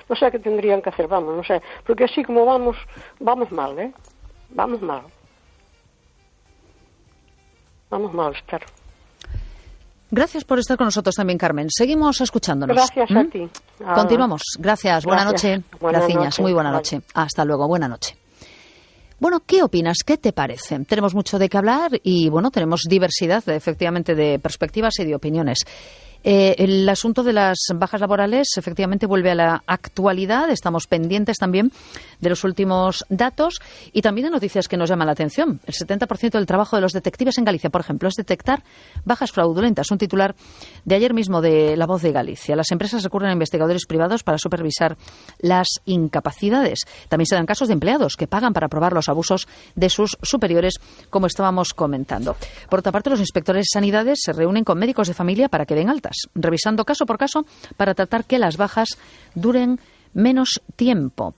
no sé qué tendrían que hacer, vamos, no sé, porque así como vamos mal, vamos mal, espero. Gracias por estar con nosotros también, Carmen. Seguimos escuchándonos. Gracias a ti. Continuamos. Gracias. Buena noche. Buenas Gracias. Muy buena noche. Hasta luego. Buena noche. Bueno, ¿qué opinas? ¿Qué te parece? Tenemos mucho de qué hablar y, bueno, tenemos diversidad, efectivamente, de perspectivas y de opiniones. El asunto de las bajas laborales efectivamente vuelve a la actualidad. Estamos pendientes también de los últimos datos y también de noticias que nos llaman la atención. El 70% del trabajo de los detectives en Galicia, por ejemplo, es detectar bajas fraudulentas. Un titular de ayer mismo de La Voz de Galicia. Las empresas recurren a investigadores privados para supervisar las incapacidades. También se dan casos de empleados que pagan para probar los abusos de sus superiores, como estábamos comentando. Por otra parte, los inspectores de sanidades se reúnen con médicos de familia para que den altas, revisando caso por caso para tratar que las bajas duren menos tiempo.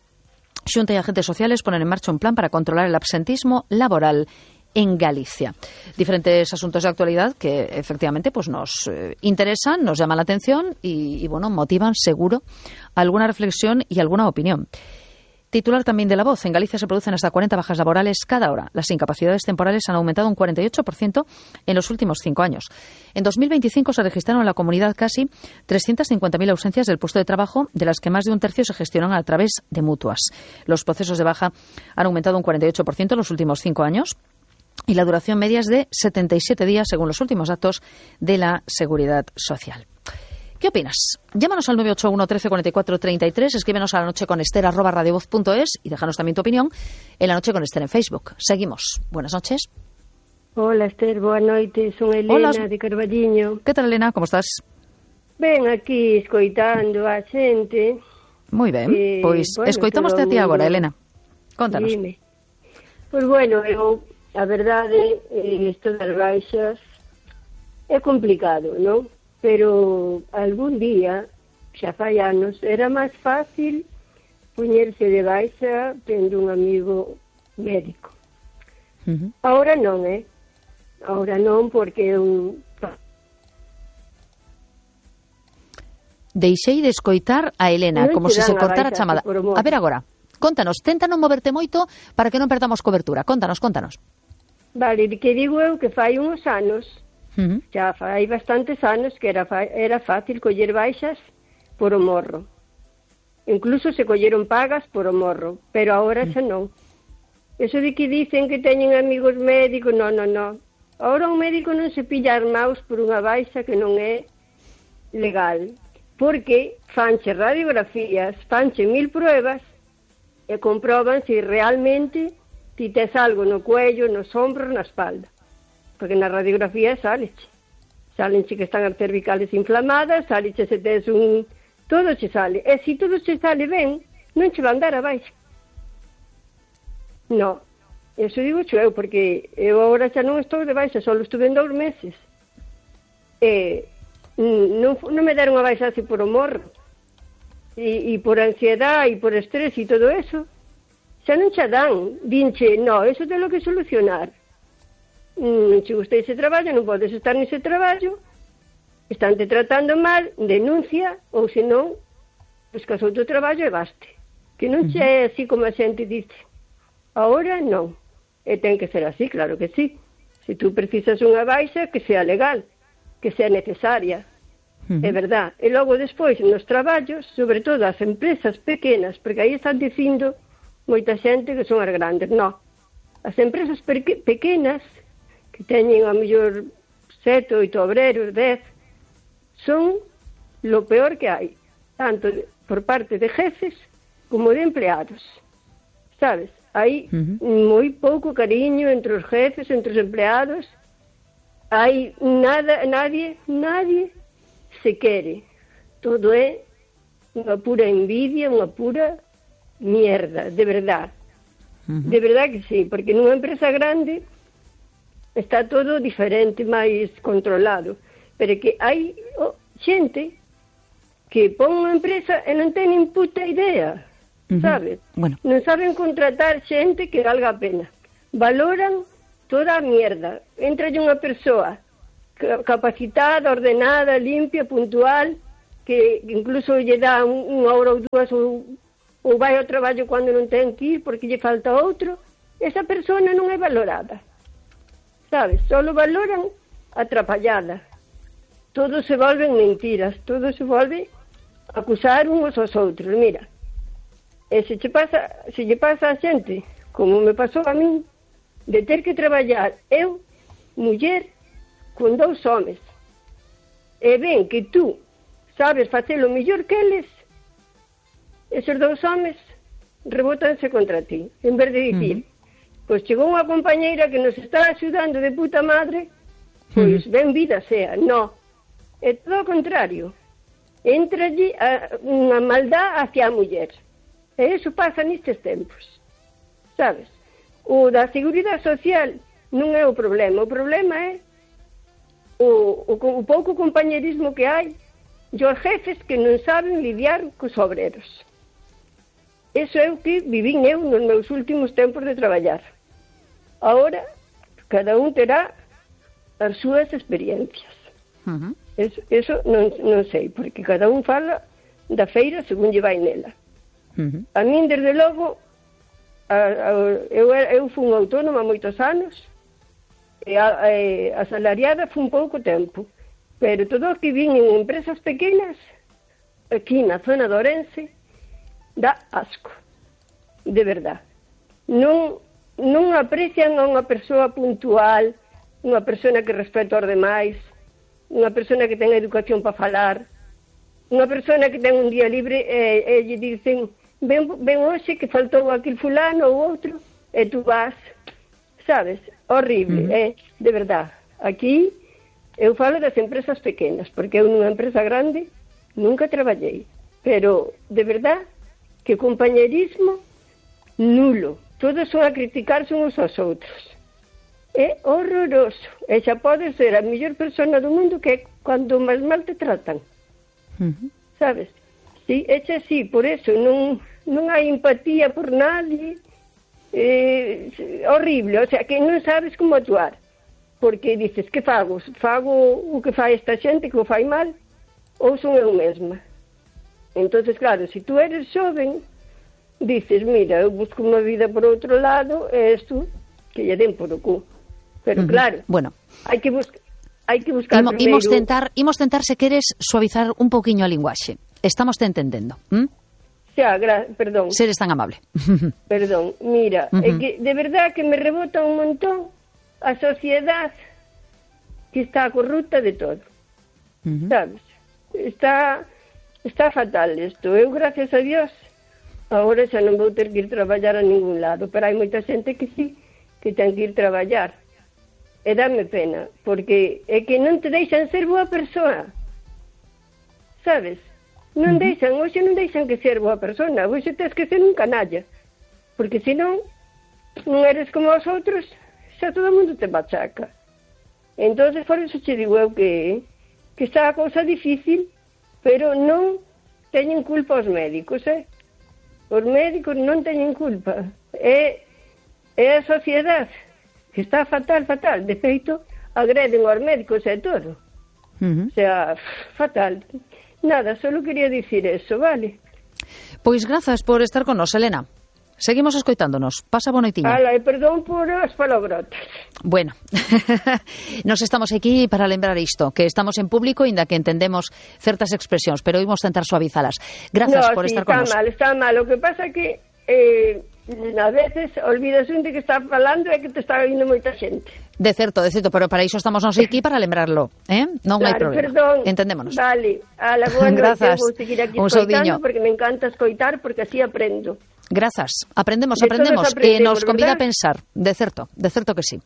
Xunta y agentes sociales ponen en marcha un plan para controlar el absentismo laboral en Galicia. Diferentes asuntos de actualidad que efectivamente pues nos interesan, nos llaman la atención y bueno, motivan seguro alguna reflexión y alguna opinión. Titular también de La Voz. En Galicia se producen hasta 40 bajas laborales cada hora. Las incapacidades temporales han aumentado un 48% en los últimos 5 años. En 2025 se registraron en la comunidad casi 350.000 ausencias del puesto de trabajo, de las que más de un tercio se gestionan a través de mutuas. Los procesos de baja han aumentado un 48% en los últimos 5 años. Y la duración media es de 77 días, según los últimos datos de la Seguridad Social. ¿Qué opinas? Llámanos al 981 13 44 33, escríbenos a lanocheconester@radiovoz.es y déjanos también tu opinión en La Noche con Esther en Facebook. Seguimos. Buenas noches. Hola, Esther, boa noite. Son Elena de Carballiño. ¿Qué tal, Elena? ¿Cómo estás? Ben, aquí escoitando a xente. Moi ben, pois bueno, escoitámoste a ti agora, Elena. Contanos. Dime. Pois bueno, a verdade, isto das baixas é complicado, non? Pero algún día, xa fai anos, era máis fácil poñerse de baixa tendo un amigo médico. Ahora non, Ahora non, porque Deixei de escoitar a Elena, como se cortara a chamada. A ver agora, contanos, tenta non moverte moito para que non perdamos cobertura. Contanos. Vale, que digo eu que fai uns anos, xa fai bastantes anos que era fácil coller baixas por o morro. Incluso se colleron pagas por o morro, pero agora xa non. Eso de que dicen que teñen amigos médicos, non. Agora un médico non se pilla armaos por unha baixa que non é legal, porque fanche radiografías, fanche 1000 pruebas e comproban se realmente ti tes algo no cuello, nos ombros, na espalda. Porque na radiografía salenche que están as cervicales inflamadas, salenche se tes todo che sale. E se todo che sale ben, non che van dar a baixa. No, eso digo eu, porque eu agora xa non estou de baixa, só estuve en 2 meses. Non me deron a baixa así por o morro. E por ansiedade, e por estrés e todo eso, xa non xa dan. Dinche, no, eso ten que solucionar. Non che gusta ese traballo, non podes estar nese traballo, estánte tratando mal, denuncia, ou senón, buscas outro traballo e baste. Que non che é así como a xente dice. Ahora non. E ten que ser así, claro que sí. Se tú precisas unha baixa, que sea legal, que sea necesaria. É verdad. E logo despois, nos traballos, sobre todo as empresas pequenas, porque aí están dicindo moita xente que son as grandes. No. As empresas pequenas, que teñen a mellor 7, 8 obreros, 10, son lo peor que hai, tanto por parte de jefes como de empleados, sabes? Hai moi pouco cariño entre os jefes, entre os empleados, hai nadie se quere, todo é unha pura envidia, unha pura mierda, de verdad que sí, porque nunha empresa grande está todo diferente, máis controlado. Pero que hai xente que pon unha empresa e non ten puta idea, sabes? Bueno. Non saben contratar xente que valga a pena. Valoran toda a mierda. Entra unha persoa capacitada, ordenada, limpia, puntual, que incluso lle dá unha hora ou dúas ou vai ao traballo cando non ten que ir porque lle falta outro, esa persona non é valorada, sabes? Solo valoran a trapallada. Todo se volven mentiras, todo se volve acusar uns aos outros. Mira, e se lle pasa a xente, como me pasou a min, de ter que traballar eu, muller, con 2 homes, e ven que tú sabes facelo mellor que eles, esos 2 homes rebotanse contra ti, en vez de dicir, pois chegou unha compañeira que nos está axudando de puta madre, pois ben vida sea. No, é todo o contrario, entralle unha maldad hacia a muller, e iso pasa nestes tempos, sabes? O da seguridade social non é o problema é o pouco compañerismo que hai e os jefes que non saben lidiar cos obreros. Eso é o que vivín eu nos meus últimos tempos de traballar. Ahora, cada un terá as súas experiencias. Eso non sei, porque cada un fala da feira según lle vai nela. A min, desde logo, eu fui autónoma moitos anos, e asalariada fue un pouco tempo, pero todo o que vin en empresas pequenas aquí na zona de Ourense dá asco, de verdad. Non aprecian a unha persoa puntual, unha persona que respeta aos demais, unha persona que ten educación para falar, unha persona que ten un día libre e lle dicen ven hoxe que faltou aquel fulano ou outro e tú vas, sabes? Horrible, de verdad. Aquí eu falo das empresas pequenas, porque eu nunha empresa grande nunca traballei, pero de verdad que compañerismo nulo, todos son a criticarse uns aos outros, é horroroso, e xa podes ser a mellor persona do mundo que é cando máis mal te tratan, sabes? Sí, é así, por eso non hai empatía por nadie, horrible, o sea, que non sabes como actuar, porque dices, que fago? Fago o que fai esta xente, que o fai mal, ou son eu mesma? Entonces, claro, se tú eres xoven, dices, mira, eu busco unha vida por outro lado, e isto, que lle den por o cu. Pero claro, bueno, hai que buscar primeiro... Imos tentar, se queres, suavizar un pouquiño a linguaxe. Estamos te entendendo, perdón. Seres tan amable. Perdón, mira, é que de verdad que me rebota un montón a sociedade que está corrupta de todo. Sabes? Está fatal isto. Eu, gracias a Dios, agora xa non vou ter que ir traballar a ningún lado, pero hai moita xente que sí, que ten que ir traballar. E dame pena, porque é que non te deixan ser boa persoa. Sabes? Non deixan, hoxe non deixan que ser boa persona, hoxe tens que ser un canalla, porque senón non eres como os outros, xa todo o mundo te machaca. Entonces, por eso che digo eu que está a cousa difícil, pero non teñen culpa os médicos, Os médicos non teñen culpa, é a sociedade que está fatal, de feito, agreden aos médicos e todo. O sea, fatal. Nada, solo quería dicir eso, vale? Pois grazas por estar con nos, Elena. Seguimos escoitándonos. Pasa boa noitiña. Ala, e perdón por as palabrotas. Bueno, nos estamos aquí para lembrar isto, que estamos en público, inda que entendemos certas expresións, pero imos tentar suavizalas. Grazas por estar con nos. Está mal. O que pasa é que a veces olvidas un de que está falando e que te está vindo moita xente. De certo, pero para iso estamos nós aquí para lembrarlo, Non hai problema. Perdón. Entendémonos. Vale, bueno, grazas. Eu vou seguir aquí escoitando porque me encanta escoitar, porque así aprendo. Grazas. Aprendemos, e nos convida a pensar, de certo que sí.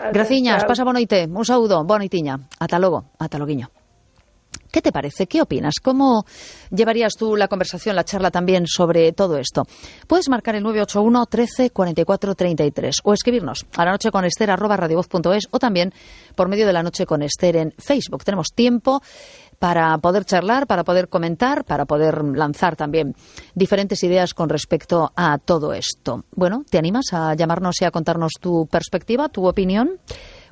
Graciñas, pasa boa noite, un saúdo, boa noitiña. Ata logo, ata loguiño. ¿Qué te parece? ¿Qué opinas? ¿Cómo llevarías tú la conversación, la charla también sobre todo esto? Puedes marcar el 981 13 44 33 o escribirnos a lanocheconester@radiovoz.es o también por medio de La Noche con Ester en Facebook. Tenemos tiempo para poder charlar, para poder comentar, para poder lanzar también diferentes ideas con respecto a todo esto. Bueno, ¿te animas a llamarnos y a contarnos tu perspectiva, tu opinión?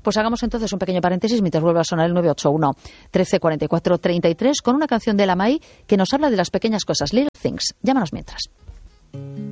Pues hagamos entonces un pequeño paréntesis mientras vuelva a sonar el 981 13 44 33 con una canción de la Mai que nos habla de las pequeñas cosas, Little Things. Llámanos mientras.